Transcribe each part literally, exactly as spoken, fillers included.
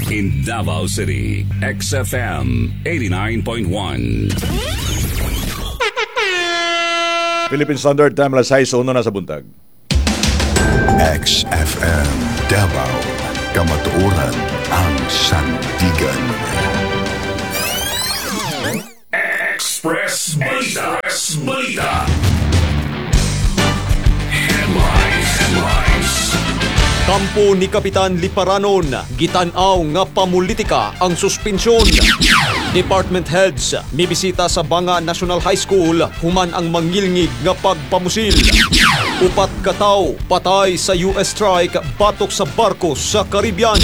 In Davao City, X F M eighty-nine point one. Philippine Standard Time, alas sais uno na sa buntag. X F M Davao, Kamatuoran ang sandigan. Express Balita. Express Balita. Headlines. Headlines. Kampo ni Kapitan Liparanon, gitan-aw nga pamulitika ang suspensyon. Department heads mibisita sa Banga National High School human ang mangilngig nga pagpamusil. Upat kataw patay sa U S strike batok sa barko sa Caribbean.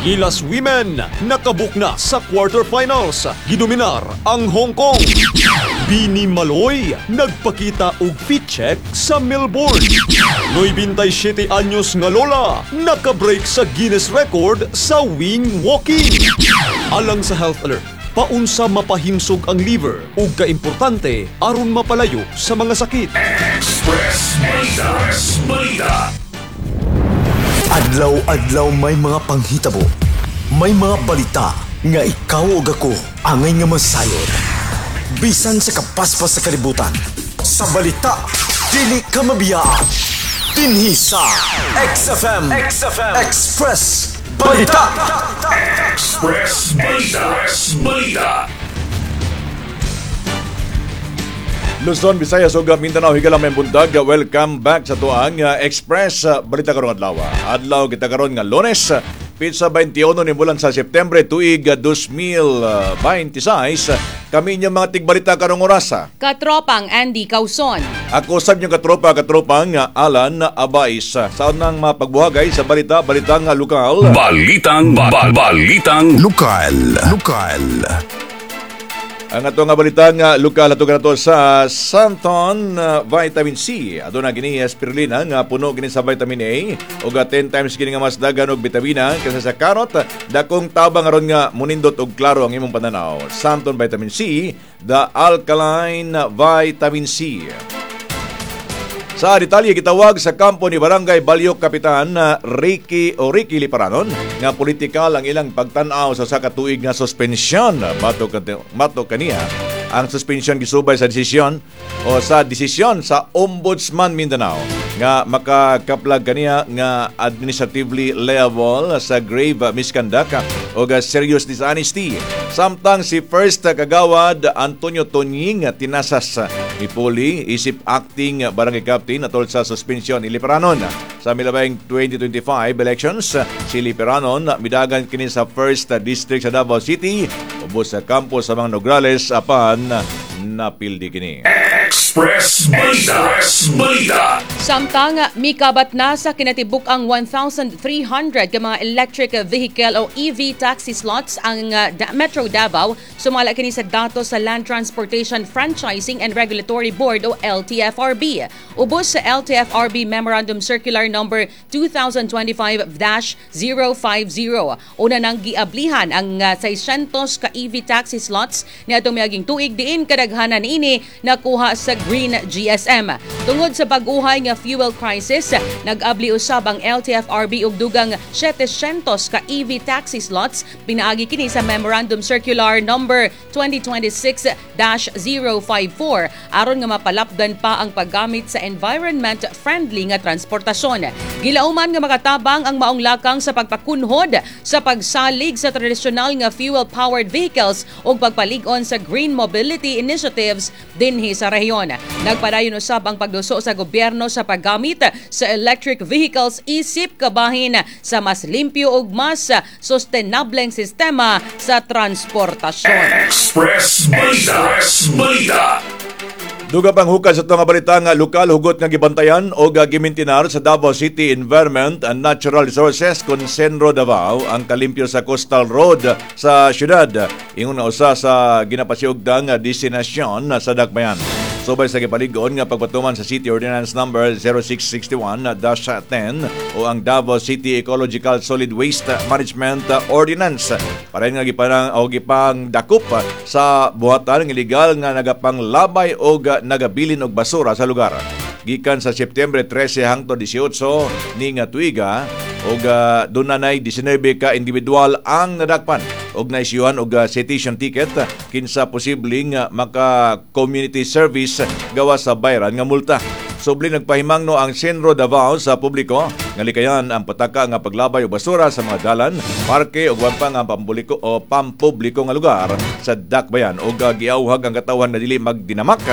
Gilas Women nakabook na sa quarterfinals. Gidominar ang Hong Kong. Bini Maloy nagpakita og fit check sa Melbourne. ninety-seven anyos nga lola nakabreak sa Guinness record sa wing walking. Alang sa health alert, paunsa mapahimsog ang liver ug kaimportante aron mapalayo sa mga sakit. Express Balita. Express Balita. Adlaw-adlaw may mga panghitabo. May mga balita nga ikaw ug ako angay nga masayod. Bisan sa kapaspas sa kalibutan. Sa balita, dili ka mabiyaan. Dinhi sa X F M, X F M Express Balita. Express Balita. Express Balita. Luzon, Visayas ug Mindanao, higala, maayong buntag. Welcome back sa atoang uh, Express uh, Balita karong adlaw. Adlaw kita karon nga Lunes, pitsa twenty-one ni bulan sa Setyembre tuig uh, twenty twenty-six. Kami inyong mga tigbalita karong orasa. Katropang Andy Causon. Ako sab inyong katropa, katropang uh, Alan Abais. Sa unang mapagbuhagay sa balita, balitang uh, lokal. Balitang ba, balitang Lokal, lokal. Ang ato nga balita nga lokal ato nato sa Santon uh, Vitamin C. Aduna kini spirulina nga puno kini sa vitamin A ug ten times kini nga mas daghan og bitamina kaysa sa carrot. Dakong tabang aron nga munindot og klaro ang imong pananaw. Santon Vitamin C, the alkaline vitamin C. Sa detalye, gitawag sa kampo ni Barangay Baliok Kapitan uh, Ricky o Ricky Liparanon nga politikal ang ilang pagtan-aw sa usa ka tuig nga suspensyon. Batok batok kaniya, ang suspension gisubay sa desisyon o sa desisyon sa Ombudsman Mindanao nga makakaplag kaniya nga administratively liable sa grave misconduct o serious dishonesty. Samtang si First Kagawad Antonio Tonying Tinasas mipuli isip acting barangay captain atol sa suspension ni Liparanon. Sa milabay twenty twenty-five elections, si Liparanon midagan kini sa First District sa Davao City ubos sa kampo sa mga Nograles, apan napildi kini. Express Balita. Express Balita. Samtang mikabat na sa kinatibuk ang one thousand three hundred ka mga electric vehicle o E V taxi slots ang uh, Da- Metro Davao, sumala kini sa datos sa Land Transportation Franchising and Regulatory Board o L T F R B. Ubos sa L T F R B Memorandum Circular number twenty twenty-five dash zero fifty. Una nang giablihan ang uh, six hundred ka E V taxi slots niadtong miaging tuig, diin kadaghanan niini nakuha sa Green G S M. Tungod sa bag-uhay nga fuel crisis, nag-abli usab ang L T F R B og dugang seven hundred ka E V taxi slots pinaagi kini sa Memorandum Circular number twenty twenty-six dash zero five four aron nga mapalapdan pa ang paggamit sa environment friendly nga transportasyon. Gilauman nga makatabang ang maong lakang sa pagpakunhod sa pagsalig sa tradisyonal nga fuel-powered vehicles ug pagpalig-on sa green mobility initiatives dinhi sa rehiyon. Nagpadayon usab ang pagduso sa gobyerno sa paggamit sa electric vehicles isip kabahin sa mas limpyo ug mas sustenableng sistema sa transportasyon. Express Balita. Express Balita. Duga pang hukad sa nga balita nga lokal, hugot nga gibantayan o gimintinar sa Davao City Environment and Natural Resources kon Cenro Davao ang kalimpyo sa Coastal Road sa syudad. Ingon na usa sa ginapasiugdang destinasyon sa Dakbayan. Subay sa gipalig-on nga pagpatuman sa City Ordinance number zero six six one dash ten o ang Davao City Ecological Solid Waste Management Ordinance. Pareho nga giparang o gipang dakop sa buhatan ng illegal nga nagapanglabay o nagabilin og basura sa lugar. Gikan sa Setyembre trese hangtod labing-walo ni nga tuiga, Ug uh, dunay nineteen ka individual ang nadakpan ug naisyuhan og uh, citation ticket kinsa posibleng uh, maka community service gawas sa bayran nga multa. Subli nagpahimangno ang CENRO Davao sa publiko nga likayan ang pataka nga paglabay og basura sa mga dalan, parke ug uban pa nga pampubliko o pampubliko nga lugar sa dakbayan ug giauhag ang katawhan na dili magdinamak,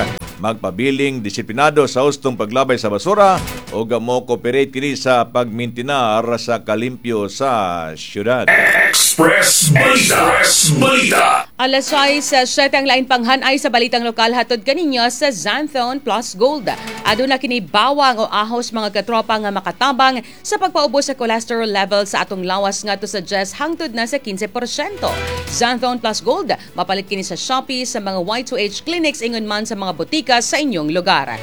magpabiling disiplinado sa hustong paglabay sa basura ug mo cooperate kini sa pagmintinar sa kalimpyo sa syudad. Express Balita. Express Balita. Alas sais, siyete ang lain panghanay sa balitang lokal hatod kaninyo sa Xanthone Plus Gold. Aduna kini bawang o ahos, mga katropa, nga makatabang sa pagpaubos sa cholesterol level sa atong lawas ngadto sa diyes hangtod na sa kinse porsyento. Xanthone Plus Gold, mapalit kini sa Shopee, sa mga Y two H clinics, ingon man sa mga botika sa inyong lugar.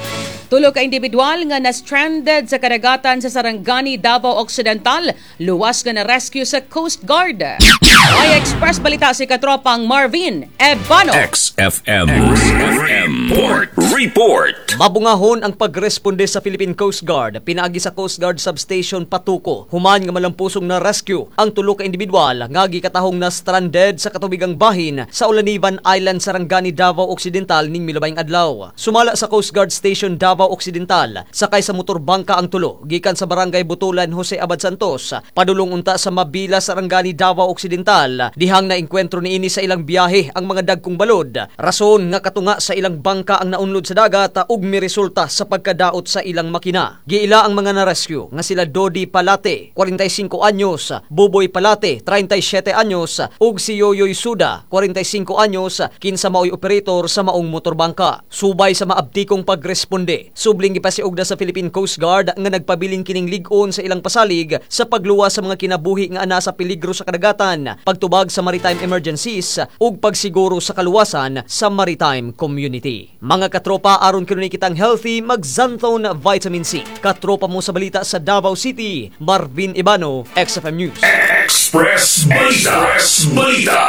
Tulo ka individual nga na-stranded sa kadagatan sa Sarangani, Davao Occidental, luwas nga na-rescue sa Coast Guard. May Express Balita si katropang Marvin Ebano. X F M. X F M. Report. Report. Mabungahon ang pagresponde sa Philippine Coast Guard pinaagi sa Coast Guard Substation Patuco human nga malampusong na rescue ang tulo ka individual nga gikatahong na stranded sa katubigang bahin sa Olanivan Island, Sarangani, Davao Occidental ning milabayng adlaw. Sumala sa Coast Guard Station Davao Occidental, sakay sa motor bangka ang tulo gikan sa Barangay Butulan, Jose Abad Santos, padulong unta sa Mabila, Sarangani, Davao Occidental, dihang naengkwentro niini sa ilang biyahe ang mga dagkong balod. Rason nga katunga sa ilang bangka ang naunlod sa dagat ug miresulta sa pagkadaot sa ilang makina. Giila ang mga na-rescue nga sila Dodi Palate, kwarenta y singko anyos, Buboy Palate, trenta y siyete anyos, ug si Yoyoy Suda, kwarenta y singko anyos, kinsa maoy operator sa maong motorbangka. Subay sa maabtikong pagresponde, subling gipasiugda sa Philippine Coast Guard nga nagpabiling kining lig-on sa ilang pasalig sa pagluwas sa mga kinabuhi nga ana sa peligro sa kadagatan, pagtubag sa maritime emergencies ug pagsiguro sa kaluwasan sa maritime community. Mga katropa, aron kanunay kitang healthy, mag-Xanthone Vitamin C. Katropa mo sa balita sa Davao City, Marvin Ibano, X F M News. Express Balita. Express Balita.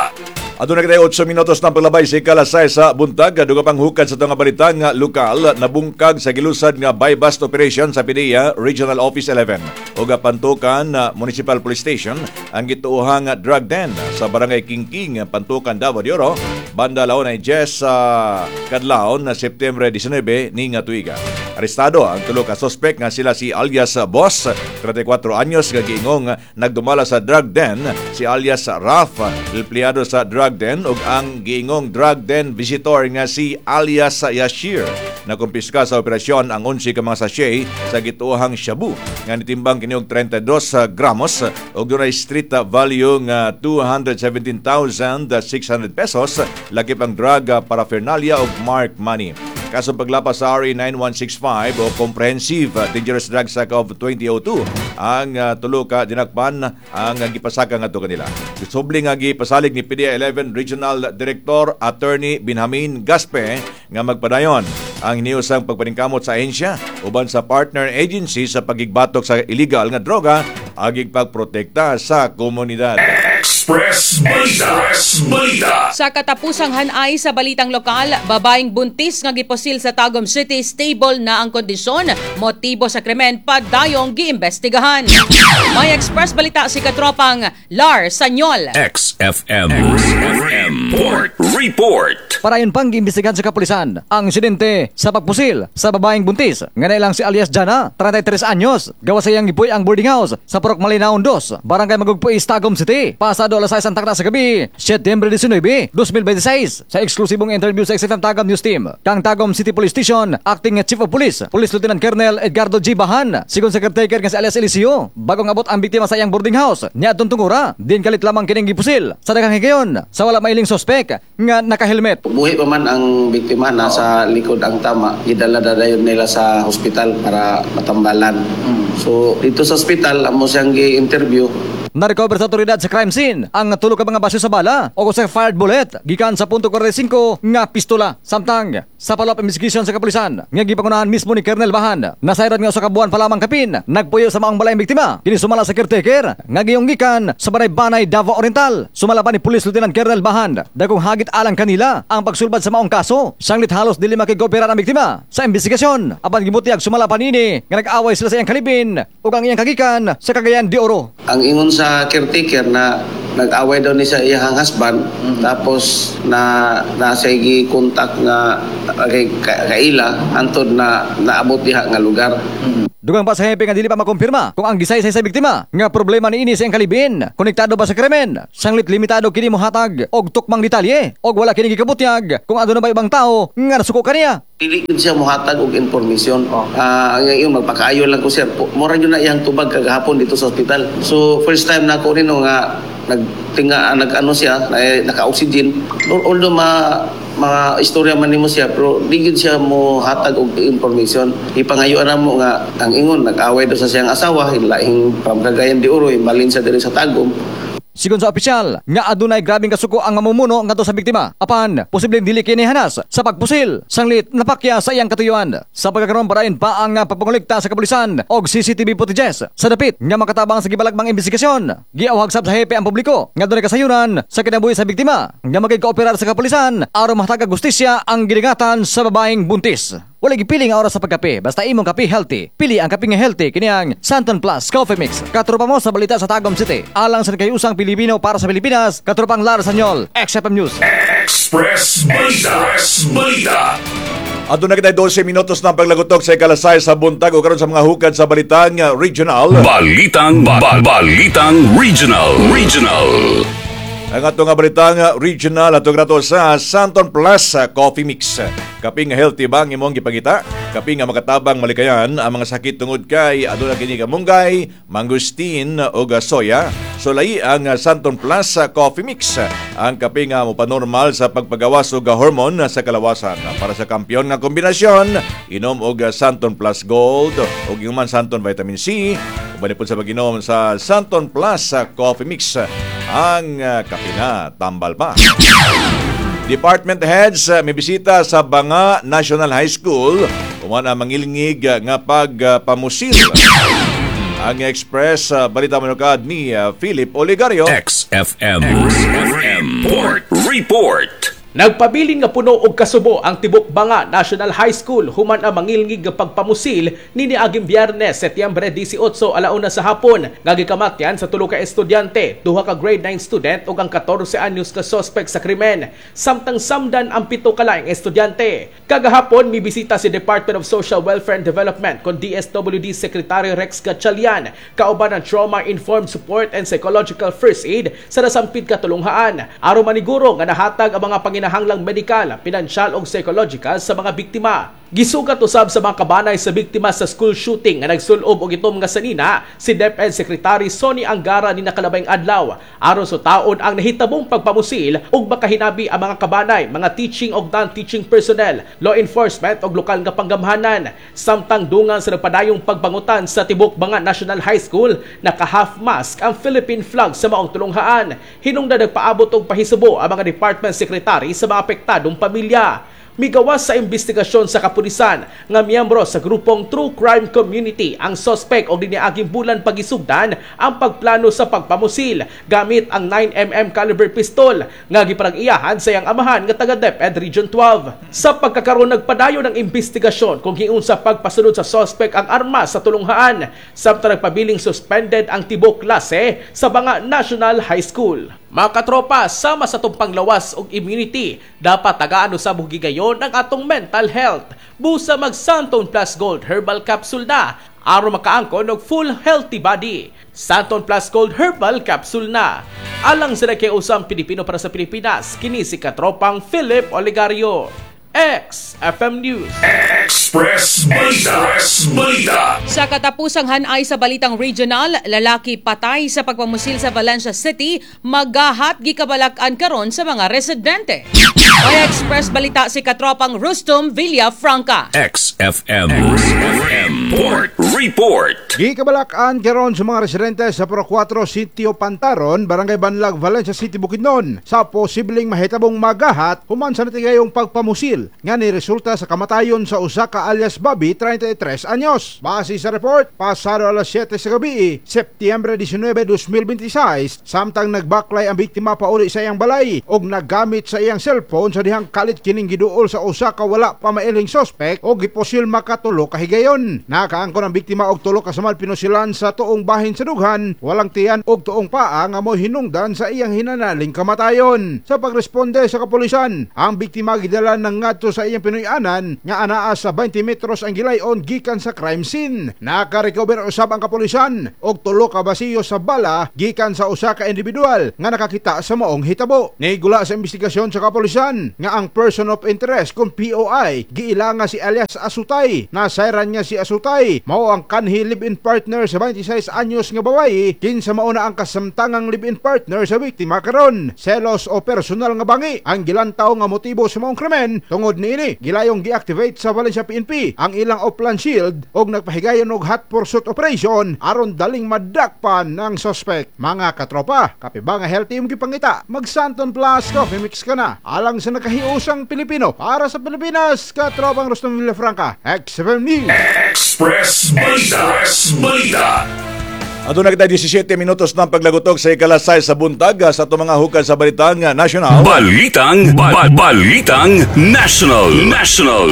Aduna kitay otso minutos ng paglabay sa ikalas sais sa buntag, duga pang hukad sa itong balita nga lokal, nabungkag sa gilusad nga buy-bust operation sa P D E A Regional Office eleven ug Pantukan Municipal Police Station ang gituohang drug den sa Barangay Kingking, Pantukan, Davao de Oro, banda alauna diyes sa kadlawon na Setyembre nineteen ni nga tuiga. Arestado ang tulo ka suspect nga sila si alias Boss, trenta y kuwatro anyos, nga giingong nagdumala sa drug den, si alias Raf, empleyado sa drug den, ug ang giingong drug den visitor nga si alias Yashir. Nakumpiska sa operasyon ang onse ka mga sachet sa gituohang shabu nga nitimbang kini og trenta y dos gramos ug dunay street value nga two hundred seventeen thousand six hundred pesos, lakip ang drug paraphernalia ug mark money. Kaso paglapas sa R A nine one six five o Comprehensive Dangerous Drugs Act of two thousand two ang uh, tulo ka dinakpan ang uh, gipasaka ngadto kanila. Subli nga gipasalig ni P D E A eleven Regional Director Attorney Benjamin Gaspe nga magpadayon ang hiniusang pagpaningkamot sa ahensya uban sa partner agency sa pagigbatok sa illegal nga droga agig pagprotekta sa komunidad. Express Balita. Express Balita. Sa katapusang hanay sa balitang lokal, babaeng buntis nga gipusil sa Tagum City, stable na ang kondisyon, motibo sa krimen padayong giimbestigahan. May Express Balita si katropang Lar Sanyol. X F M. X F M. Report. Report. Parayon pang giimbestigahan sa kapulisan ang insidente sa pagpusil sa babaeng buntis nga nailang si alias Jana, trenta y tres anyos, gawas sa iyang gipuy ang boarding house sa Purok Malinaon dos, Barangay Magugpo East, Tagum City. Pasado alas sais ang takna sa gabi, Setyembre nineteen, two thousand twenty-six. Sa eksklusibong interview sa X F M Tagum News Team, kang Tagum City Police Station, Acting Chief of Police, Police Lieutenant Colonel Edgardo G. Bahan, sigon sa caretaker nga si alias Eliseo, bagong abot ang biktima sa iyang boarding house, niadtong tungura, din kalit lamang kining gipusil sa daghang higayon sa wala mailing suspect nga naka-helmet. Buhi pa man ang biktima, nasa likod ang tama. Gidala na dayon nila sa hospital para matambalan. So dito sa hospital, amo siyang gi-interview. Na-recover sa otoridad sa crime scene ang tulo ka mga basyo sa bala o sa fired bullet gikan sa punto kwarenta y singko nga pistola. Samtang sa follow-up investigation sa kapulisan nga gipangunahan mismo ni Colonel Bahan, nasayran nga usa ka buwan pa lamang kapin nagpuyo sa maong balay ang biktima. Kini sumala sa caretaker nga giyong gikan sa Banay-Banay, Davao Oriental. Sumala pa ni Police Lieutenant Colonel Bahan, dagkong hagit alang kanila ang pagsulbad sa maong kaso. Sanglit halos dili makigooperar ang biktima sa investigasyon. Apan gibutyag sumala pa nini nga nag-away sila sa iyang kalibin. kalibin ug ang iyang kagikan sa Cagayan de Oro. Ang ingon sa caretaker na nag-away daw ni sa iyang husband, tapos na nasa kontak nga kay kaila antod na naabot diha nga lugar. Dugang pa sa hepe nga dili pa makumpirma kung ang gisaysay sa biktima nga problema niini sa iyang kalibin konektado ba sa krimen. Sanglit limitado kini mohatag og tukmang detalye og wala kini gikabutyag kung aduna ba ibang tao nga nasuko kaniya. Dili gid siya mohatag og informasyon. Ah, ang ingon, magpakaayo lang ko, sir. Mura gyud na iyang tubag kagahapon dito sa ospital. So first time na ako nino nga nagtinga, nag-ano siya, eh, naka-oxygen. Although ma mga istorya man nimo siya, pero di gyud siya mo hatag og information. Ipangayuan na mo nga ang ingon, nag-away daw sa siyang asawa, lahing from Cagayan de Oro, balin sa diri sa Tagum. Sigon sa opisyal, nga adunay grabeng kasuko ang mamumuno ngadto sa biktima. Apan, posibleng dili kini hanas sa pagpusil, sanglit napakya sa iyang katuyuan. Sa pagkakaroon, padayon pa ang pagpangolekta sa kapulisan og C C T V footages sa dapit nga makatabang sa gibalakbang investigasyon. Giawhag sab sa hepe ang publiko nga dunay kasayuran sa kinabuhi sa biktima nga makigkooperar sa kapulisan aron mahatag gustisya ang gidingatan sa babaeng buntis. Wala gipili nga oras sa pagkape, basta imong kape healthy. Pili ang kape nga healthy, kini ang Santon Plus Coffee Mix. Katropa mo sa balita sa Tagum City. Alang sa kayusang Pilipino para sa Pilipinas, katropang Lara Sanyol, X F M News. Express Balita. Express Balita. Aduna kita dose minutos ng paglagutok sa ikalasay sa buntag o karon sa mga hukad sa balitang uh, regional. Balitang ba, Balitang Regional. Regional. Ang ato nga balitang uh, regional ato grato sa Santon Plus uh, Coffee Mix. Kape nga healthy ba ang imong gipangita? Kape nga makatabang malikayan ang mga sakit tungod kay aduna kini kamunggay, mangosteen ug soya. Sulayi ang uh, Santon Plus uh, Coffee Mix. Ang kape nga mopanormal sa pagpagawas og hormone sa kalawasan. Para sa kampiyon nga kombinasyon, inom og Santon Plus Gold ug human Santon Vitamin C. Uban po sa pag-inom sa Santon Plus Coffee Mix, ang uh, kape na tambal pa. Department heads uh, may bisita sa Banga National High School human ang mangilngig uh, nga pagpamusil. Ang Express uh, Balita Manukad ni uh, Philip Oligario. X F M. X F M. Report. Report. Nagpabilin nga puno og kasubo ang tibok Banga National High School human ang mangilngig nga pagpamusil ni niaging Biyernes, Setyembre labing-walo, alauna sa hapon nga gikamatyan sa tulo ka estudyante, duha ka grade nine student ug ang katorse anyos ka suspect sa krimen. Samtang samdan ang pito ka laing estudyante. Kagahapon mibisita si Department of Social Welfare and Development kon D S W D Secretary Rex Gatchalian kauban ang Trauma Informed Support and Psychological First Aid sa nasampid katulunghaan aron maniguro nga nahatag ang mga panginahanglang medikal, pinansyal ug psychological sa mga biktima. Gisugat usab sa mga kabanay sa biktima sa school shooting nga nagsulob og itom nga sanina si DepEd Secretary Sonny Angara ni nakalabayng adlaw aron sutaon ang nahitabong pagpamusil ug makahinabi ang mga kabanay, mga teaching ug non-teaching personnel, law enforcement ug lokal nga panggamhanan. Samtang dungan sa nagpadayong pagbangutan sa tibok Banga National High School, naka half mast ang Philippine flag sa maong tulunghaan. Hinungdan nagpaabot og pahisubo ang mga department secretary sa mga apektadong pamilya. Migawas sa investigasyon sa kapulisan nga miyembro sa grupong True Crime Community ang suspect og diniaging bulan pagisugdan ang pagplano sa pagpamusil gamit ang nine millimeter caliber pistol nga giparag-iyahan sa iyang amahan nga taga DepEd Region twelve. Sa pagkakaroon, nagpadayon ng investigasyon kung giunsa pagpasunod sa suspect ang armas sa tulunghaan, samtang nagpabiling suspended ang tibok klase sa Banga National High School. Mga katropa, sama sa atong panglawas og immunity, dapat tagaan usab og higayon ang atong mental health. Busa mag Santon Plus Gold Herbal Capsule na aron makaangkon og full healthy body. Santon Plus Gold Herbal Capsule na. Alang sa nagkiusang Pilipino para sa Pilipinas, kini si katropang Philip Oligario. X F M News. Express Balita. Express Balita. Sa katapusang hanay sa balitang regional, lalaki patay sa pagpamusil sa Valencia City, magahat gikabalak-an karon sa mga residente. May Express Balita si katropang Rustum Villafranca. X F M. X F M. Report. Report. Gikabalak-an karon sa mga residente sa Purok kwatro, Sitio Pantaron, Barangay Banlag, Valencia City, Bukidnon sa posibleng mahitabong magahat human sa natigayong pagpamusil nga ni resulta sa kamatayon sa usa ka alias Bobby, trenta y tres anyos. Base sa report, pasado alas siyete sa gabi, Setyembre disinuybe, dos mil bentisiis, samtang nagbaklay ang biktima pauli sa iyang balay og naggamit sa iyang cellphone sa dihang kalit kining giduol sa usa ka wala pa mailing suspect og gipusil makatulo ka higayon. Nakaangkon ang biktima og tulo ka samal pinusilan sa tuong bahin sa dughan, walang tiyan og tuong paa nga mo hinungdan sa iyang hinanaling kamatayon. Sa pagresponde sa kapulisan, ang biktima gidala ng ngadto sa iyang pinuy-anan nga anaa sa twenty metros ang gilayon gikan sa crime scene. Nakarecover usab ang kapulisan og tulo ka basiyo sa bala gikan sa usa ka individual nga nakakita sa maong hitabo. Nigula sa investigasyon sa kapulisan nga ang person of interest kung P O I giila nga si alias Asutay. Nasayran niya si Asutay mao ang kanhi live-in partner sa twenty-six anyos nga babayi, kinsa mao na ang kasamtangang live-in partner sa biktima karon. Selos o personal nga bangi ang gilantaw nga motibo sa maong krimen. Tungod niini, gilayong gi-activate sa Valencia P N P ang ilang Oplan Shield og nagpahigayon og hot pursuit operation aron daling madakpan ng suspect. Mga katropa, kape ba nga healthy imong gipangita? Mag Santon Plus Coffee Mix ka na. Alang sa nakahiusang Pilipino, para sa Pilipinas, katropang Rustom Villafranca, X F M News. Express Balita. Express Balita. Aduna kita labing-siyam minutos ng paglagutok sa ikalas sais sa buntag sa atong mga hukad sa Balitang National. Balitang ba- Balitang National. National.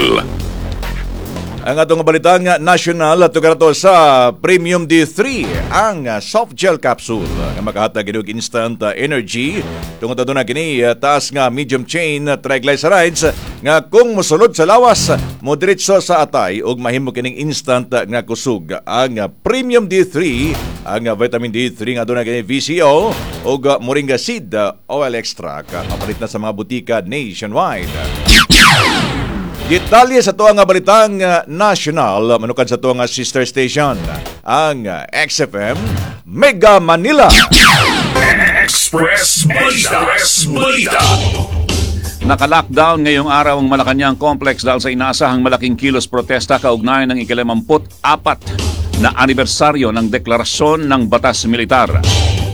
Ang atong Balitang National ato karato sa Premium D three, ang soft gel capsule nga makahatag og instant energy tungod aduna kini taas nga medium chain triglycerides nga kung mosulod sa lawas, mo diretso sa atay ug mahimo kining instant nga kusog. Ang Premium D three, ang vitamin D three nga aduna kini V C O ug moringa seed oil extract, mapalit na sa mga butika nationwide. Detalye sa tuang nga Balitang uh, National manukad sa tuang nga sister station, ang uh, X F M Mega Manila. Express Balita. Express Balita. Naka-lockdown ngayong araw ang Malacanang Complex dahil sa inaasahang malaking kilos protesta kaugnay ng ikalimamput apat na anibersaryo ng deklarasyon ng Batas Militar.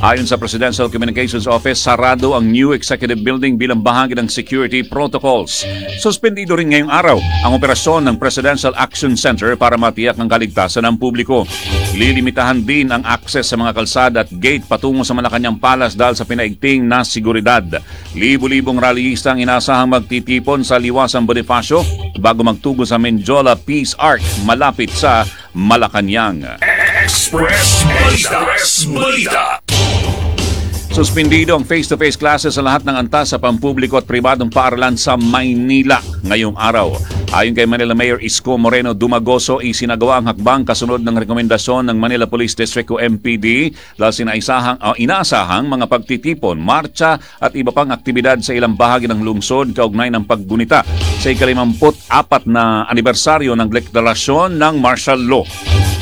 Ayon sa Presidential Communications Office, sarado ang new executive building bilang bahagi ng security protocols. Suspendido rin ngayong araw ang operasyon ng Presidential Action Center para matiyak ang kaligtasan ng publiko. Lilimitahan din ang access sa mga kalsada at gate patungo sa Malacanang Palace dahil sa pinaigting na seguridad. Libo-libong rallyista ang inaasahang magtitipon sa Liwasang Bonifacio bago magtugo sa Mendiola Peace Arch malapit sa Malacanang. Express Balita. Express Balita. Suspendido ang face-to-face classes sa lahat ng antas sa pampubliko at pribadong paaralan sa Maynila ngayong araw. Ayon kay Manila Mayor Isko Moreno Domagoso, isinagawa ang hakbang kasunod ng rekomendasyon ng Manila Police District o M P D dahil sinaisahang, uh, inaasahang mga pagtitipon, marcha at iba pang aktibidad sa ilang bahagi ng lungsod kaugnay ng paggunita sa ikalimamput apat na anibersaryo ng deklarasyon ng martial law.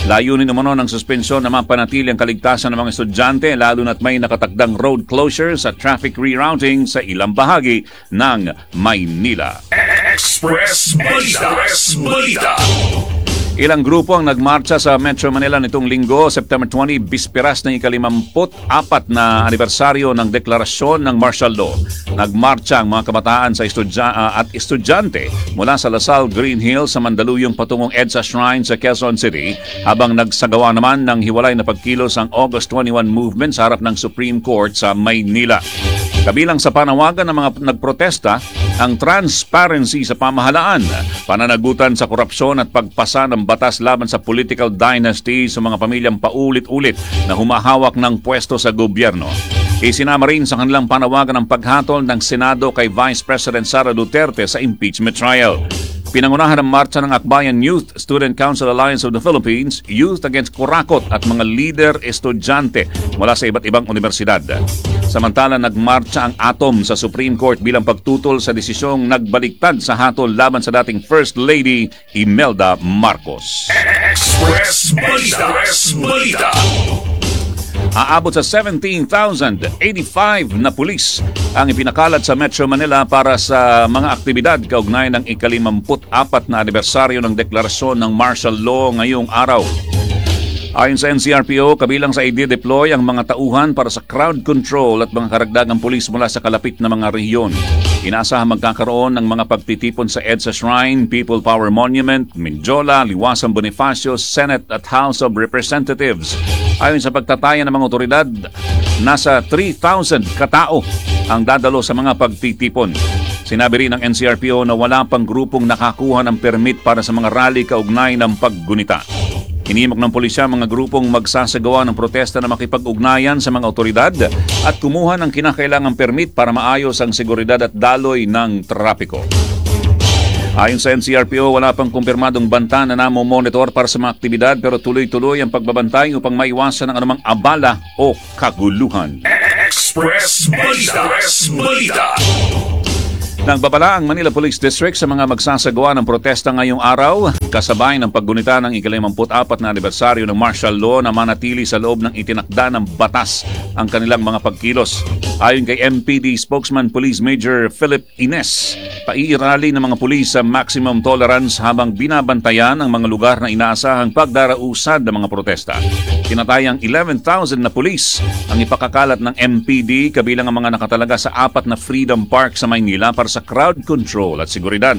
Layunin umano ng suspensyon na mapanatili ang kaligtasan ng mga estudyante, lalo na't may nakatakdang road closures at traffic rerouting sa ilang bahagi ng Maynila. Express Balita. Express Balita. Ilang grupo ang nagmarcha sa Metro Manila nitong linggo, September twenty, bisperas ng ikalimamput apat na anibersaryo ng deklarasyon ng martial law. Nagmarcha ang mga kabataan sa estudya- ah, at estudyante mula sa La Salle Green Hills sa Mandaluyong patungong EDSA Shrine sa Quezon City, habang nagsagawa naman ng hiwalay na pagkilos ang August twenty-one movement sa harap ng Supreme Court sa Maynila. Kabilang sa panawagan ng mga nagprotesta ang transparency sa pamahalaan, pananagutan sa korupsyon at pagpasa ng batas laban sa political dynasty sa mga pamilyang paulit-ulit na humahawak ng pwesto sa gobyerno. Isinama rin sa kanilang panawagan ang paghatol ng Senado kay Vice President Sara Duterte sa impeachment trial. Pinangunahan ang marcha ng Akbayan Youth Student Council Alliance of the Philippines, Youth Against Kurakot at mga leader estudyante mula sa iba't ibang universidad. Samantala, nagmarcha ang ATOM sa Supreme Court bilang pagtutol sa desisyong nagbaliktad sa hatol laban sa dating First Lady Imelda Marcos. Express Balita. Express Balita. Aabot sa seventeen thousand eighty-five na pulis ang ipinakalat sa Metro Manila para sa mga aktibidad kaugnay ng ikalimamput apat na anibersaryo ng deklarasyon ng martial law ngayong araw. Ayon sa N C R P O, kabilang sa i-deploy ang mga tauhan para sa crowd control at mga karagdagang pulis mula sa kalapit na mga rehiyon. Inaasahang magkakaroon ng mga pagtitipon sa EDSA Shrine, People Power Monument, Mendiola, Liwasan Bonifacio, Senate at House of Representatives. Ayon sa pagtataya ng mga otoridad, nasa three thousand katao ang dadalo sa mga pagtitipon. Sinabi rin ng N C R P O na wala pang grupong nakakuha ng permit para sa mga rally kaugnay ng paggunita. Hinimok ng pulisya mga grupong magsasagawa ng protesta na makipag-ugnayan sa mga otoridad at kumuha ng kinakailangang permit para maayos ang seguridad at daloy ng trapiko. Ayon sa N C R P O, wala pang kumpirmadong banta na namo-monitor para sa mga aktibidad, pero tuloy-tuloy ang pagbabantay upang maiwasan ang anumang abala o kaguluhan. Express Balita. Express Balita. Nagbabala ang Manila Police District sa mga magsasagawa ng protesta ngayong araw, kasabay ng paggunita ng ikalimamput-apat na anibersaryo ng martial law, na manatili sa loob ng itinakda ng batas ang kanilang mga pagkilos. Ayon kay M P D spokesman Police Major Philip Ines, paiirali ng mga pulis sa maximum tolerance habang binabantayan ang mga lugar na inaasahang pagdarausan ng mga protesta. Tinatayang eleven thousand na pulis ang ipakakalat ng M P D, kabilang ang mga nakatalaga sa apat na Freedom Park sa Maynila para sa crowd control at seguridad.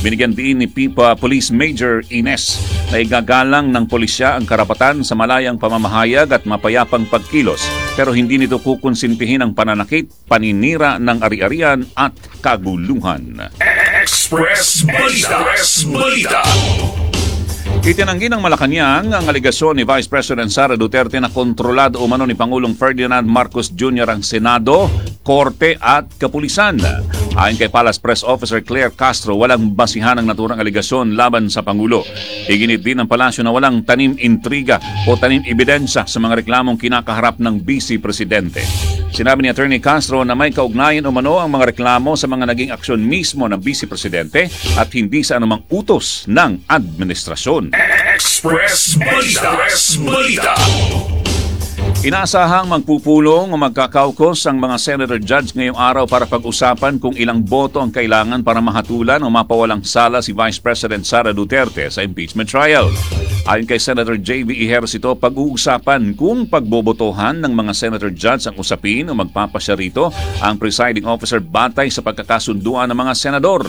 Binigyan din ni P I P A Police Major Ines na igagalang ng pulisya ang karapatan sa malayang pamamahayag at mapayapang pagkilos, pero hindi nito kukonsintihin ang pananakit, paninira ng ari-arian at kaguluhan. Express Balita. Express Balita. Itinanggi ng Malacanang ang alegasyon ni Vice President Sara Duterte na kontrolado umano ni Pangulong Ferdinand Marcos Junior ang Senado, Korte at Kapulisan. Ayon kay Palace Press Officer Claire Castro, walang basihan ang naturang alegasyon laban sa Pangulo. Iginit din ng palasyo na walang tanim intriga o tanim ebidensya sa mga reklamong kinakaharap ng Vice Presidente. Sinabi ni Attorney Castro na may kaugnayan umano ang mga reklamo sa mga naging aksyon mismo ng Vice Presidente at hindi sa anumang utos ng administrasyon. Express Balita. Express Balita. Inaasahang magpupulong o magkakaukos ang mga senator judge ngayong araw para pag-usapan kung ilang boto ang kailangan para mahatulan o mapawalang sala si Vice President Sara Duterte sa impeachment trial. Ayon kay Senator J V. Ejercito, pag-uusapan kung pagbobotohan ng mga senator judge ang usapin o magpapasya rito ang presiding officer batay sa pagkakasunduan ng mga senador.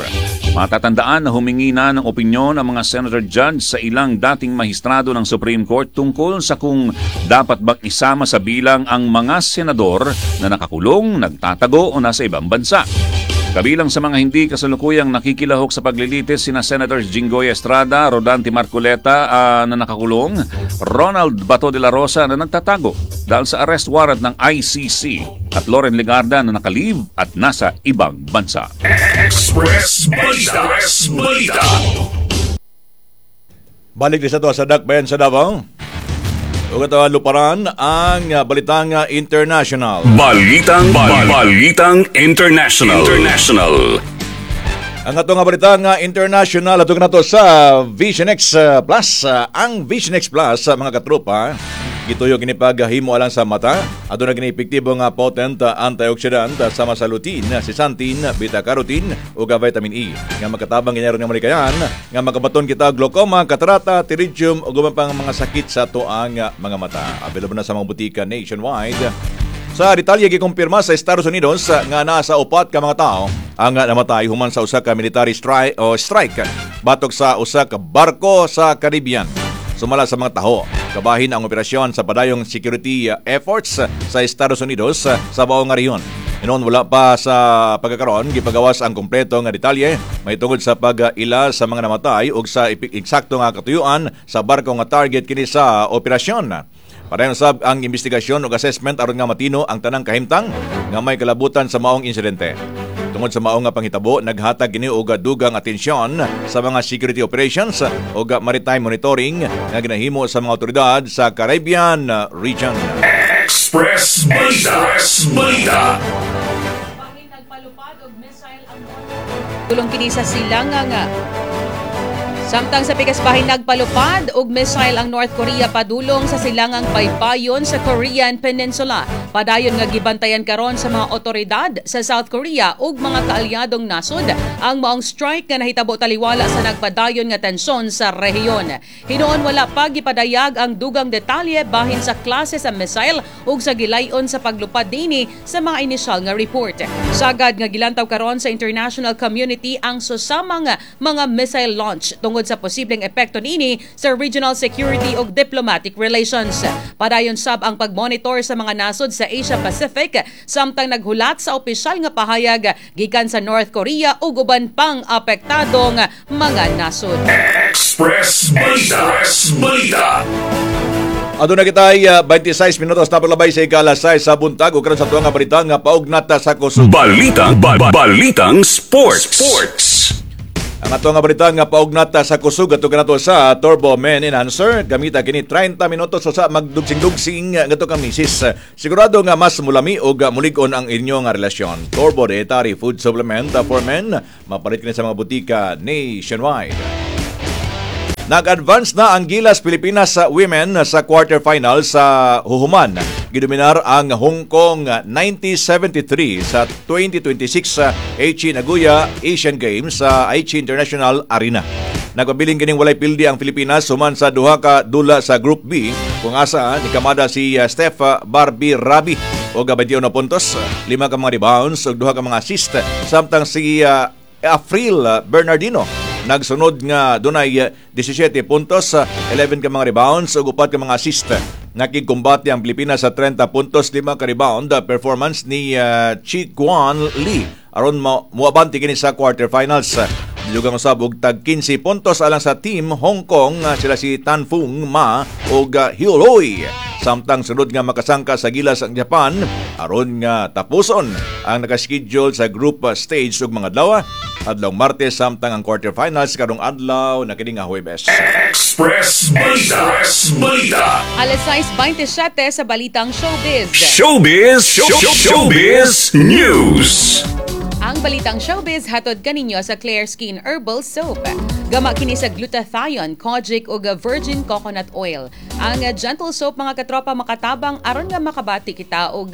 Matatandaan na humingi na ng opinyon ang mga senator judge sa ilang dating mahistrado ng Supreme Court tungkol sa kung dapat bang isama sa bilang ang mga senador na nakakulong, nagtatago o nasa ibang bansa. Kabilang sa mga hindi kasalukuyang nakikilahok sa paglilitis sina Senators Jinggoy Estrada, Rodante Marcoleta ah, na nakakulong, Ronald Bato de la Rosa na nagtatago dahil sa arrest warrant ng I C C at Loren Legarda na naka-leave at nasa ibang bansa. Express Balita. Express Balita. Balik din sa to sa Dakbayan sa Davao. Ug ato luparan ang uh, balitang uh, international. Balitang Balitang International. International. Ang ato nga balitang uh, international, ato nato sa Vision X uh, Plus. Uh, ang Vision X Plus, uh, mga katropa, gituyo kini paghimo alang sa mata. Aduna kini epektibo nga potent uh, antioxidant uh, sama sa lutein, zeaxanthin, beta-carotene ug uh, vitamin E nga makatabang kini aron nga malikayan nga makabaton kita glaucoma, katarata, pterygium ug uban pang mga sakit sa atoang uh, mga mata. Available na sa mga butika nationwide. Sa detalye, gikumpirma sa Estados Unidos uh, nga nasa upat ka mga tao ang uh, namatay human sa usa ka military strike o strike batok sa usa ka barko sa Caribbean. Sumala sa mga taho, kabahin ang operasyon sa padayong security uh, efforts sa Estados Unidos uh, sa buong nga rehiyon. Hinuon wala pa sa pagkakaroon gipagawas ang kompleto nga detalye mahitungod sa pag-ila sa mga namatay ug sa eksakto nga katuyuan sa barko nga target kini sa operasyon. Padayon sab ang investigasyon ug assessment aron nga matino ang tanang kahimtang nga may kalabutan sa maong insidente. Tungod sa maong nga panghitabo, naghatag kini og dugang atensyon sa mga security operations ug maritime monitoring nga ginahimo sa mga otoridad sa Caribbean region. Express Balita. Express Balita. Nagpalupad og missile ang Tulong kini sa silangang. Samtang sa pikas bahin, nagpalupad og missile ang North Korea padulong sa silangang baybayon sa Korean Peninsula. Padayon nga gibantayan karon sa mga otoridad sa South Korea ug mga kaalyadong nasod ang maong strike nga nahitabo taliwala sa nagpadayon nga tensyon sa rehiyon. Hinuon wala pa gipadayag ang dugang detalye bahin sa klase sa missile ug sa gilayon sa paglupad dinhi sa mga inisyal nga report. Sagad nga gilantaw karon sa international community ang susamang mga missile launch tungod tungod sa posibleng epekto niini sa regional security ug diplomatic relations. Padayon sab ang pagmonitor sa mga nasod sa Asia Pacific samtang naghulat sa opisyal nga pahayag gikan sa North Korea ug uban pang apektadong mga nasod. Express Balita. Express Balita. Aduna kita ay uh, twenty-six minutos na paglabay sa ikalas sais sa buntag ug karon sa tuwang nga balita nga paugnat sa kusog. Balita, ba, ba- balitang sports. Sports. Ang ato nga balita nga paugnat sa kusog ato kanato sa Turbo Men Enhancer. Gamita kini thirty minutos sa magdugsing-dugsing ngadto kang misis. Sigurado nga mas mulami og mulig-on ang inyong nga relasyon. Turbo Dietary Food Supplement for Men, mapalit kini sa mga butika nationwide. Nag-advance na ang Gilas Pilipinas sa women sa quarterfinal sa huhuman. Gidominar ang Hong Kong ninety seventy-three sa twenty twenty-six sa Aichi Nagoya Asian Games sa Aichi International Arena. Nagpabiling kining walay pildi ang Pilipinas human sa duha ka dula sa Group B kung asa nikamada si uh, Steph Barbie Rabi og twenty-one puntos, lima ka mga rebounds ug duha ka mga assist, samtang si uh, Afril Bernardino nagsunod nga dunay seventeen puntos, eleven ka mga rebounds ug upat ka mga assist. Nakigkumbate ang Pilipinas sa thirty puntos, lima ka rebound performance ni uh, Chi Guan Lee aron muabante kini sa quarterfinals. Dugang usab og tag fifteen puntos alang sa team Hong Kong sila si Tan Fung Ma ug Hioloi. Samtang sunod nga makasangka sa Gilas ang Japan aron nga tapuson ang nakaschedule sa group stage ug mga adlaw adlaw Martes, samtang ang quarterfinals karong adlaw na kini nga Huwebes. Express Balita. Express Balita. Alas sais twenty-seven sa Balitang Showbiz. Showbiz, show, Showbiz News. Ang Balitang Showbiz hatod kaninyo sa Claire Skin Herbal Soap. Gama kini sa glutathione, kojic ug virgin coconut oil. Ang gentle soap, mga katropa, makatabang aron nga makabati kita og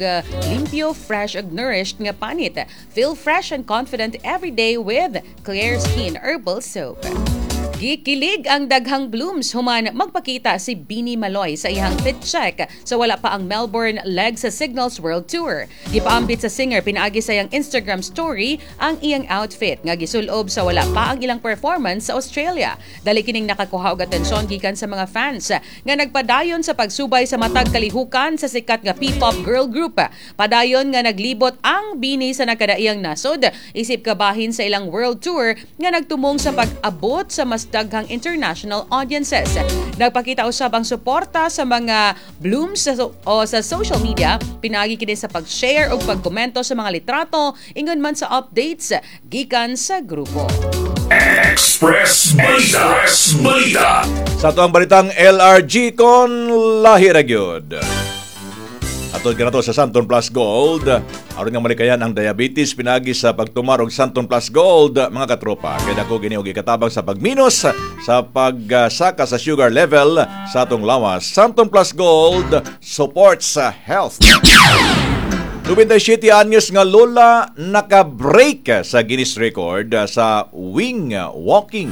limpyo, fresh ug nourished nga panit. Feel fresh and confident every day with Claire Skin Herbal Soap. Gikilig ang daghang blooms human magpakita si Bini Maloy sa iyang fit check sa wala pa ang Melbourne leg sa Cignals World Tour. Gipaambit sa singer pinaagi sa iyang Instagram story ang iyang outfit nga gisulob sa wala pa ang ilang performance sa Australia. Dali kining nakakuha og atensyon gikan sa mga fans nga nagpadayon sa pagsubay sa matag kalihukan sa sikat nga P-pop girl group. Padayon nga naglibot ang Bini sa nakadaiyang nasod isip kabahin sa ilang world tour nga nagtumong sa pag-abot sa mas daghang international audiences. Nagpakita usab ang suporta sa mga blooms sa, o sa social media pinaagi kini sa pag-share ug pagkomento sa mga litrato ingon man sa updates gikan sa grupo. Express Balita. Express Balita. Sa atuang balitang L R G kon lahi ra gyud. Atod kanato sa Xanthone Plus Gold, aron nga malikayan ang diabetes pinagi sa pagtumar og Xanthone Plus Gold, mga katropa. Kay dako gini og ikatabang sa pagminos sa pagsaka sa sugar level sa atong lawas. Xanthone Plus Gold supports health. twenty-seven anyos nga lola naka-break sa Guinness Record sa wing walking.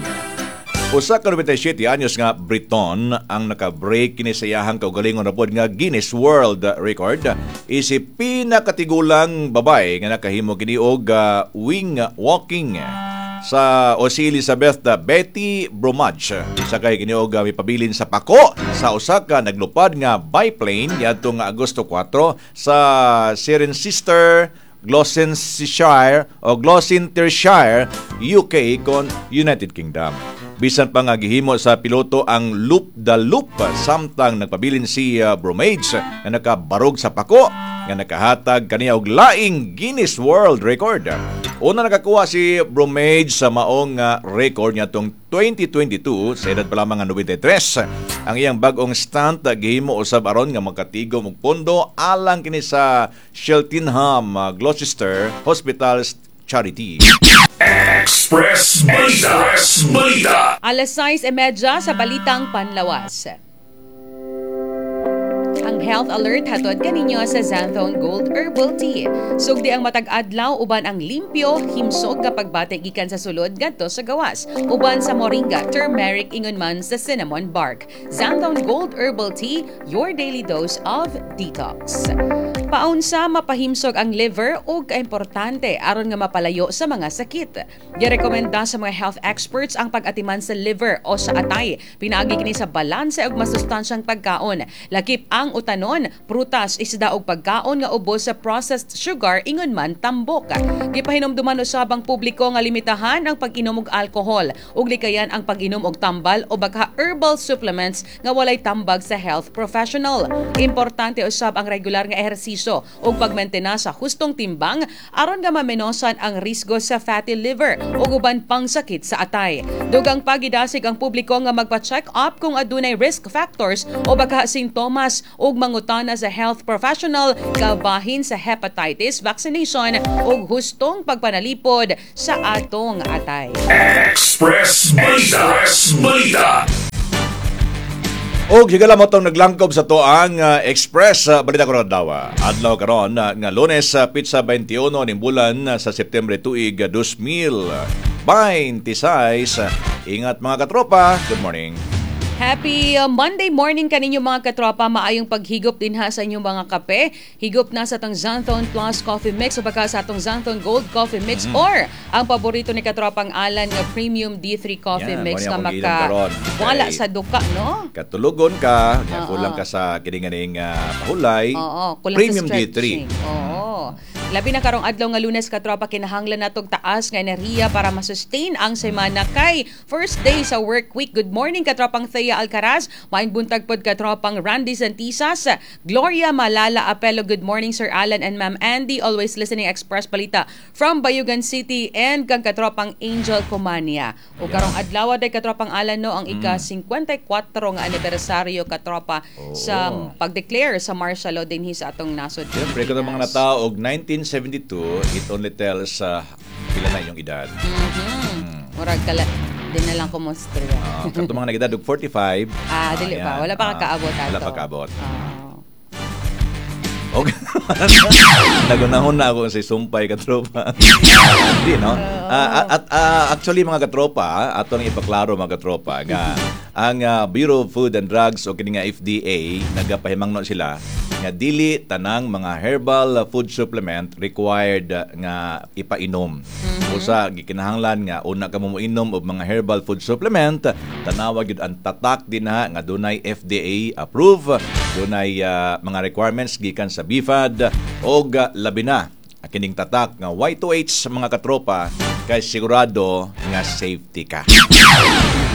Usa ka ninety-seven anyos nga Briton ang naka-break kini sa iyahang kaugalingon na pod nga Guinness World Record isip pinakatigulang babae nga nakahimo kini og uh, wing walking sa o si Elizabeth Betty Bromage. Sakay kini og uh, mipabilin sa pako sa usa ka naglupad nga biplane niadtong Agosto four sa Cirencester, Gloucestershire o Gloucestershire, U K kon United Kingdom. Bisan pa nga gihimo sa piloto ang loop the loop samtang nagpabilin si uh, Bromage nga nakabarog sa pako nga nakahatag kaniya og laing Guinness World Record. Una nakakuha si Bromage sa maong uh, record niya tong twenty twenty-two sa edad pa lamang nga ninety-three. Ang iyang bag-ong stunt uh, gihimo usab aron nga makatigom og pondo alang kini sa Cheltenham uh, Gloucester Hospital Charity. Express Balita. Express Balita. Alas sais thirty sa Balitang Panlawas. Ang health alert hatod kaninyo sa Xanthone Gold Herbal Tea. Sugdi ang matag adlaw uban ang limpyo, himsog kapag bati gikan sa sulod ngadto sa gawas. Uban sa moringa, turmeric, ingon man sa cinnamon bark. Xanthone Gold Herbal Tea, your daily dose of detox. Paunsa mapahimsog ang liver ug kaimportante aron nga mapalayo sa mga sakit. Girekomenda sa mga health experts ang pag-atiman sa liver o sa atay. Pinaagi kini sa balanse ug masustansyang pagkaon. Lakip ang utanon, prutas, isda ug pagkaon nga ubos sa processed sugar ingon man tambok. Gipahinumduman usab ang publiko nga limitahan ang pag-inom og alkohol ug likayan ang pag-inom og tambal o baka herbal supplements nga walay tambag sa health professional. Importante usab ang regular nga ehersisyo ug pagmentena sa hustong timbang aron nga mamenosan ang risgo sa fatty liver ug uban pang sakit sa atay. Dugang pagidasig ang publiko nga magpa-check up kung adunay risk factors o baka sintomas ug mangutana sa health professional kabahin sa hepatitis vaccination ug hustong pagpanalipod sa atong atay. Express Balita. Express Balita. Og higala mo tong naglangkob sa toang uh, Express uh, Balita karon adlaw. Adlaw karon uh, nga Lunes sa uh, pitsa twenty-one ning bulan uh, sa Setyembre tuig uh, twenty twenty-six. Ingat, mga katropa. Good morning. Happy uh, Monday morning kaninyo, mga katropa. Maayong paghigop din ha sa inyong mga kape. Higop na sa atong Xanthone Plus Coffee Mix o baka sa atong Xanthone Gold Coffee Mix mm. or ang paborito ni katropang Alan nga Premium D three Coffee Yan, Mix mo nga ni akong giinom maka karon. Wala Kay sa duka, no? Katulugon ka, nya Oo. kulang ka sa kininganing uh, pahulay. Oo, kulang Premium sa D three. Stretching. Oo. Labi na karong adlaw nga Lunes, katropa, kinahanglan natog taas nga enerhiya para masustain ang semana kay first day sa work week. Good morning, katropang Thea Alcaraz, maayong buntag pod, katropang Randy Santisas, Gloria Malala Apelo. Good morning, Sir Alan and Ma'am Andy, always listening Express Balita from Bayugan City and kang katropang Angel Comania. O karong adlaw day, katropang Alan, no, ang ika fifty-four nga anibersaryo, katropa, sa pag-declare sa martial law dinhi sa atong nasod. Siyempre, kung ang mga natao og nineteen seventy-two, it only tells uh, pila na inyong edad. Mhm. Murag kala di na lang ko mostra. Uh, katong mga nag-edad og forty-five. Ah, dili pa. Ayan. Wala pa Ah, kakaabot ato. Wala pa kaabot. Ah. Okay. Nagunahon na ako sa sumpay, katropa. Hindi, no? Ah, at ah, actually, mga katropa, ato nang ipaklaro, mga katropa, nga ang ah, Bureau of Food and Drugs o kini nga F D A, nagapahimangno sila nga dili tanang mga herbal food supplement required ah, nga ipainom. Usa gikinahanglan nga una ka mo moinom og mga herbal food supplement, tanawa gyud ang tatak dinha nga dunay F D A approve, dunay ah, mga requirements gikan sa B F A D og ah, labi na ang kining tatak nga Y two H, mga katropa, kay sigurado nga safety ka.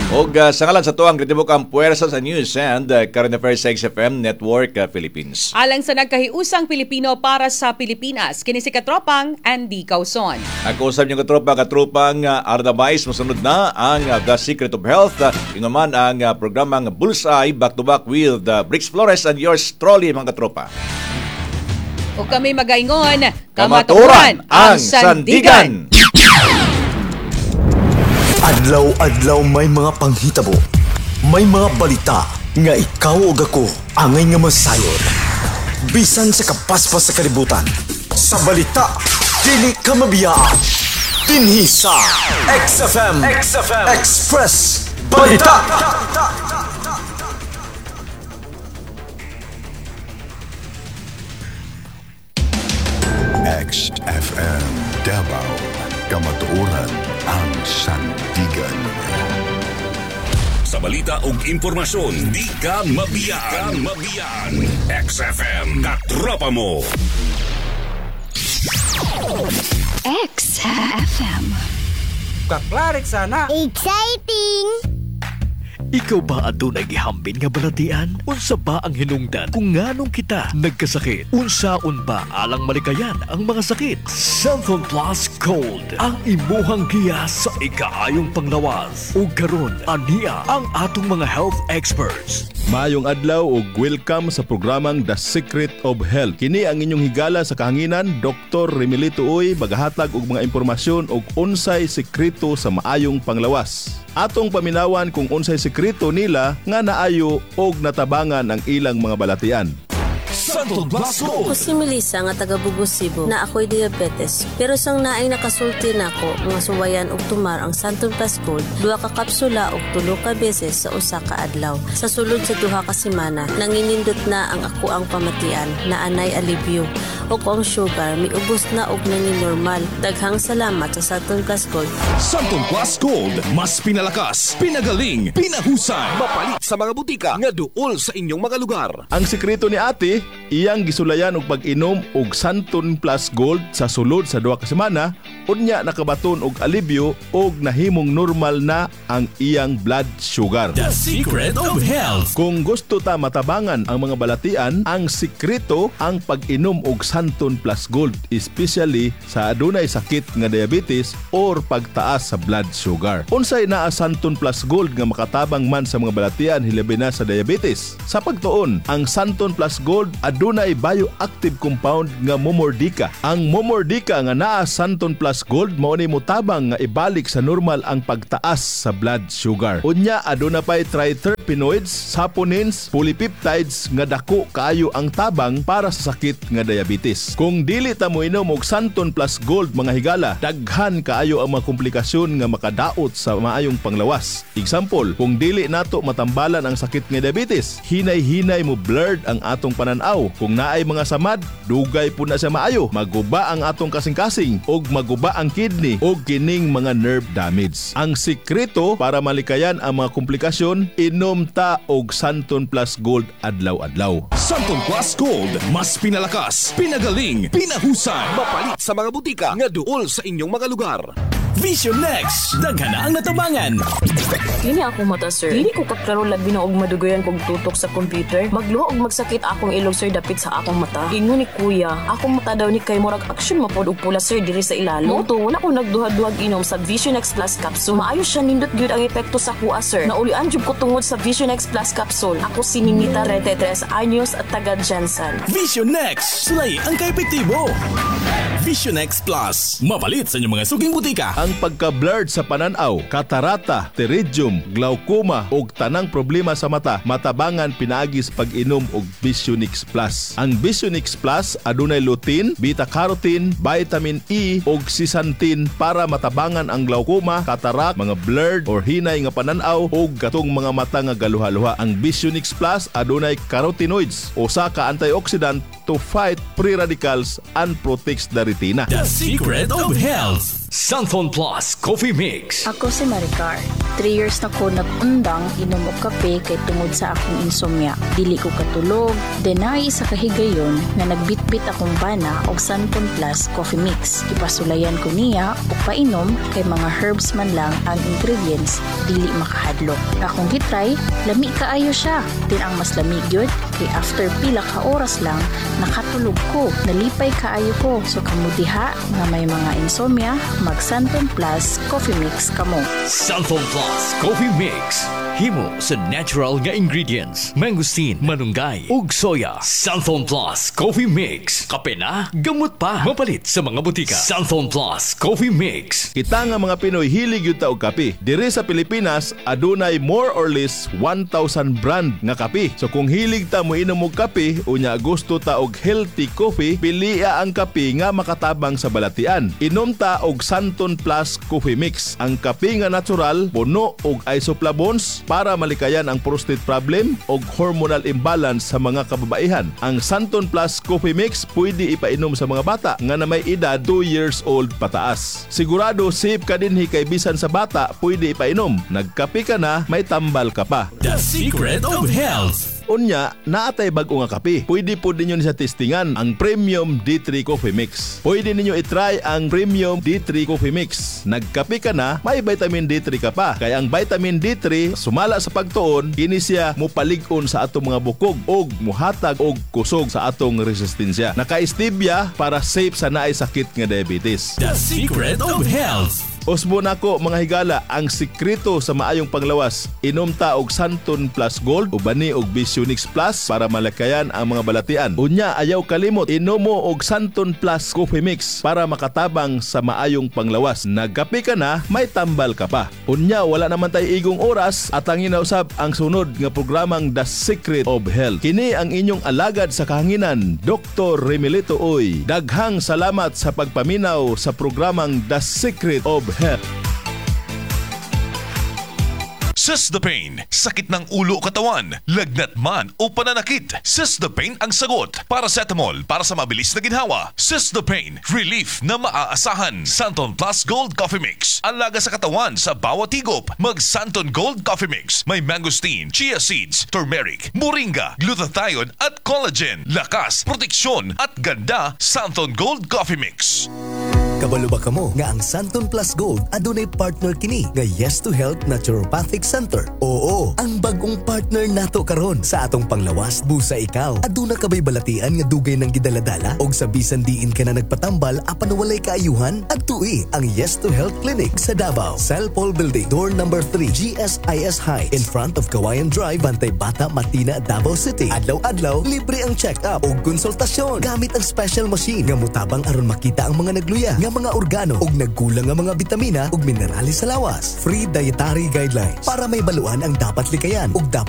Og uh, sa ngalan sa tuang kritibok ang puwersa sa news and uh, current affairs sa X F M Network uh, Philippines. Alang sa nagkahiusang Pilipino para sa Pilipinas, kini si katropang Andy Causon. Ako usab niyong katropa, katropang uh, Arda Mais, mosunod na ang uh, The Secret of Health. Uh, ingon man ang uh, programang Bullseye, back to back with uh, Brix Flores and yours truly, mga katropa. O kami magaingon, Kamaturan ang sandigan! Adlaw-adlaw may mga panghitabo. May mga balita nga ikaw ug ako angay nga masayod. Bisan sa kapaspas sa kalibutan. Sa balita, dili ka mabiyaan. Dinhi sa X F M, X F M Express Balita. X F M Davao. Kamatuoran ang sandigan. Sa balita ug impormasyon, di ka mabiyaan. Di ka mabiyaan. X F M, katropa mo. X F M. Kaklarik sana. Exciting! Ikaw ba adunay gihambin nga balatian? Unsa ba ang hinungdan kung nganong kita nagkasakit? Unsaon ba alang malikayan ang mga sakit? Xanthone Plus Gold ang imuhang giya sa ikaayong panglawas. Ug karon ania ang atong mga health experts. Maayong adlaw ug welcome sa programang The Secret of Health. Kini ang inyong higala sa kahanginan, Doctor Remilito Uy, magahatag og mga impormasyon og unsay sekreto sa maayong panglawas. Atong paminawan kung unsay sekreto nila nga naayo og natabangan ang ilang mga balatian. Santon Plus Gold. Ako si Melissa nga taga Bogo, Cebu, na ako'y diabetes. Pero sang naay nakasulti nako nga suwayan og tumar ang Santon Plus Gold, duha ka kapsula og tulo ka beses sa usa ka adlaw. Sa sulod sa duha ka semana, nanginindot na ang ako ang pamatian na anay alibyo. Ug ang sugar miubos na og nangin normal. Daghang salamat sa Santon Plus Gold. Santon Plus Gold. Mas pinalakas, pinagaling, pinahusay. Mapalit sa mga butika nga duol sa inyong mga lugar. Ang sekreto ni ate, iyang gisulayan og pag-inom og Santon Plus Gold sa sulod sa duha ka semana, unya nakabaton og alibyo og nahimong normal na ang iyang blood sugar. The Secret of Health. Kung gusto ta matabangan ang mga balatian, ang sekreto ang pag-inom og Santon Plus Gold, especially sa adunay sakit nga diabetes or pagtaas sa blood sugar. Unsay naa Santon Plus Gold nga makatabang man sa mga balatian hilabi na sa diabetes? Sa pagtuon, ang Santon Plus Gold adunay bioactive compound nga Momordica. Ang Momordica nga naa Santon Plus Gold mao ni motabang nga ibalik sa normal ang pagtaas sa blood sugar. Unya aduna pay triterpenoids, saponins, polypeptides nga dako kaayo ang tabang para sa sakit nga diabetes. Kung dili ta moinom og Santon Plus Gold mga higala, daghan kaayo ang mga komplikasyon nga makadaot sa maayong panglawas. Example, kung dili nato matambalan ang sakit nga diabetes, hinay-hinay mo blurred ang atong pananaw. Kung naay mga samad, dugay po na siya maayo. Maguba ang atong kasing-kasing og maguba ang kidney og kining mga nerve damage. Ang sikreto para malikayan ang mga komplikasyon, inom ta og Santon Plus Gold adlaw-adlaw. Santon Plus Gold. Mas pinalakas, pinagaling, pinahusay. Mapalit sa mga butika nga duol sa inyong mga lugar. Vision Next. Daghan na ang natabangan. Kini ako mata, sir. Dili ko kaklaro labi na og madugayan kog tutok sa computer. Magluho og magsakit akong ilong, sir, dapit sa akong mata. Ingon ni kuya, akong mata daw ni kay murag action mapod og pula, sir, diri sa ilalo. Mao to, wala ko nagduha-duhag inom sa Vision X Plus capsule. Maayo siya, nindot gyud ang epekto sa kuha, sir. Naulian jud ko tungod sa Vision X Plus capsule. Ako si Ninita, trenta'y tres anyos at taga Jensen. Vision Next. Sulay ang kaepektibo. Vision X Plus. Mapalit sa inyong mga suking butika. Ang pagka-blurred sa pananaw, katarata, pterygium, glaucoma ug tanang problema sa mata matabangan pinaagi sa pag-inom og Visionix Plus. Ang Visionix Plus adunay lutein, beta-carotene, vitamin E ug zeaxanthin para matabangan ang glaucoma, cataract, mga blurred or hinay nga pananaw ug katong mga mata nga galuha-luha. Ang Visionix Plus adunay carotenoids, usa ka antioxidant to fight free radicals and protects the retina. The Secret of Health. Santon Plus Coffee Mix. Ako si Maricar. Three years na ko nag-undang inom og kape kay tungod sa akong insomnia. Dili ko katulog. Then naay isa ka higayon nga nagbitbit akong bana og Santon Plus Coffee Mix. Ipasulayan ko niya og painom kay mga herbs man lang ang ingredients, dili makahadlok. Akong gitry, lami kaayo siya. Then ang mas lami gyud kay after pila ka oras lang nakatulog ko. Nalipay kaayo ko. So kamo diha nga may mga insomnia, mag Santon Plus Coffee Mix kamo. Santon Plus Coffee Mix. Himo sa natural nga ingredients. Mangosteen, malunggay, ug soya. Santon Plus Coffee Mix. Kape na, gamot pa. Mapalit sa mga butika. Santon Plus Coffee Mix. Kita nga mga Pinoy hilig gyud ta og kape. Diri sa Pilipinas adunay more or less one thousand brand nga kape. So kung hilig ta mo inom og kape unya gusto ta og healthy coffee, pilia ang kape nga makatabang sa balatian. Inom ta og Santon Plus Coffee Mix. Ang kape nga natural, puno og isoflavones para malikayan ang prostate problem og hormonal imbalance sa mga kababaihan. Ang Santon Plus Coffee Mix pwede ipainom sa mga bata nga na may edad two years old pataas. Sigurado safe ka dinhi kay bisan sa bata pwede ipainom. Nagkape ka na, may tambal ka pa. The Secret of Health. Unya, naatay bag-o nga kape. Pwede po ninyo ni sa testingan ang Premium D three Coffee Mix. Pwede ninyo itry ang Premium D three Coffee Mix. Nagkape ka na, may vitamin D three ka pa. Kaya ang vitamin D three, sumala sa pagtuon, kini siya mupalig-on sa atong mga bukog og muhatag og kusog sa atong resistensya. Naka-stevia para safe sa naay sakit nga diabetes. The Secret of Health. Usbo nako, mga higala, ang sikreto sa maayong panglawas. Inom ta og Santon Plus Gold ubani og Visionix Plus para malakayan ang mga balatian. Unya, ayaw kalimot, inom mo og Santon Plus Coffee Mix para makatabang sa maayong panglawas. Nagkape ka na, may tambal ka pa. Unya, wala naman tay igong oras, atangin na usab ang sunod nga programang The Secret of Health. Kini ang inyong alagad sa kahanginan, Doctor Remilito Uy. Daghang salamat sa pagpaminaw sa programang The Secret of Health. Sis the Pain, sakit ng ulo o katawan, lagnat man o pananakit. Sis the Pain ang sagot. Paracetamol para sa mabilis na ginhawa. Sis the Pain, relief na maaasahan. Santon Plus Gold Coffee Mix, alaga sa katawan sa bawat higop. Mag Santon Gold Coffee Mix, may mangosteen, chia seeds, turmeric, moringa, glutathione at collagen. Lakas, proteksyon at ganda, Santon Gold Coffee Mix. Kabalo ba kamo nga ang Santon Plus Gold adunay partner kini nga Yes to Health Naturopathic Center? Oo, ang bagong partner nato karon sa atong panglawas. Busa ikaw, aduna ka bay balatian nga dugay nang gidaladala og sa bisan diin ka na nagpatambal apan walay kaayuhan? Adtui ang Yes to Health Clinic sa Davao. Cellpol Building, door number three, G S I S High, in front of Kawayan Drive, Bantay Bata, Matina, Davao City. Adlaw-adlaw, libre ang check-up ug konsultasyon gamit ang special machine nga mutabang aron makita ang mga nagluya nga mga organo ug nagkulang nga mga bitamina ug minerales sa lawas. Free dietary guidelines para mahibaluan ang dapat likayan ug dapat